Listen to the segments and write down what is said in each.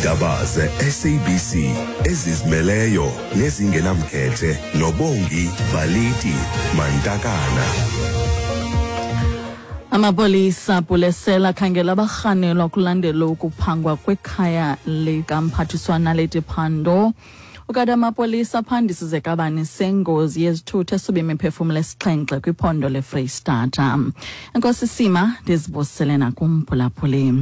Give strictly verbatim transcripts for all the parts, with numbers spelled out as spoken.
Iindaba ze-S A B C ezizimeleyo nezingenamkhethe noBongi Baliti Mantakana. Amapolisa abhulesela khangela abarhanelwa kulandela ukuphangwa kwekhaya likamphathiswa Naledi Pandor. Ukanti amapolisa aphandisa izekabani sengozi yezithuthi esube imiphefumlo esixhenxe kwiphondo leFreyistata. Enkosi Sima, ndizibusele nakumphulaphuli.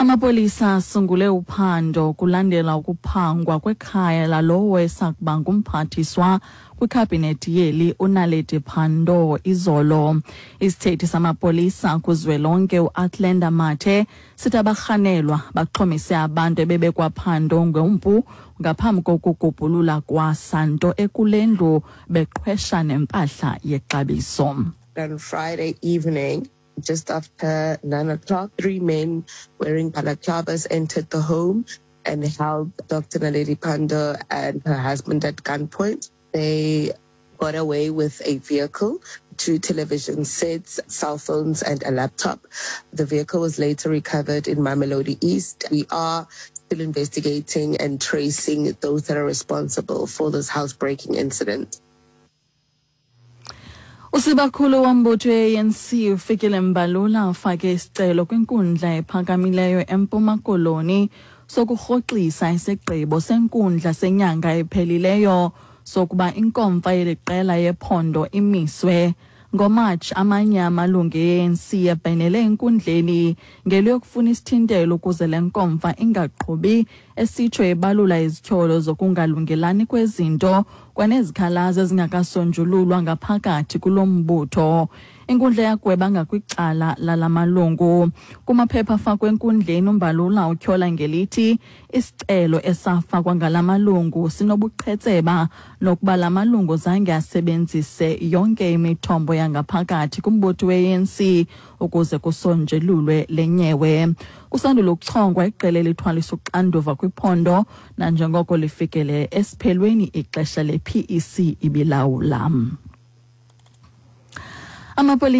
Amapolisa asungule uphando kulandela ukuphangwa kwekhaya lalowo esakuba ngumphathiswa kwikhabhinethi yeli uNaledi Pandor izolo. Isithethi samapolisa kuzwelonke uAthlenda Mathe sithi abarhanelwa baxhomise abantu ebebekwaphando ngompu ngaphambi kokugubhulula kwasanto ekule ndlu, beqhwesha nempahla yexabiso. On Friday evening, just after nine o'clock, three men wearing balaclavas entered the home and held Doctor Naledi Pandor and her husband at gunpoint. They got away with a vehicle, two television sets, cell phones, and a laptop. The vehicle was later recovered in Mamelodi East. We are still investigating and tracing those that are responsible for this housebreaking incident. Usibakhulu wombutho we-A N C uFikile Mbalula ufake isicelo kwinkundla ephakamileyo eMpuma Koloni sokurhoxisa isigqibo senkundla senyanga ephelileyo sokuba inkomfa yeli qela yephondo imiswe. NgoMatshi, amanye amalungu e-A N C ebhenele enkundleni ngeliyokufuna isithintelo ukuze le nkomfa ingaqhubi, esitsho ebalula izityholo zokungalungelani kwezinto kwanezikhalazo ezingakasonjululwa ngaphakathi kulo mbutho. Inkundla yagweba ngakwicala lala malungu. Kumaphepha afakwe enkundleni, uMbalula utyhola ngelithi isicelo esafakwa ngala malungu sinobuqhetseba nokuba la malungu zange asebenzise yonke imithombo yangaphakathi kumbutho we-A N C ukuze kusonjululwe le nyewe. Kusandula ukuchongwa iqela elithwalisa uxanduva kwiphondo nanjengoko lifikele esiphelweni ixesha le-P E C ibilawula. Amapolisa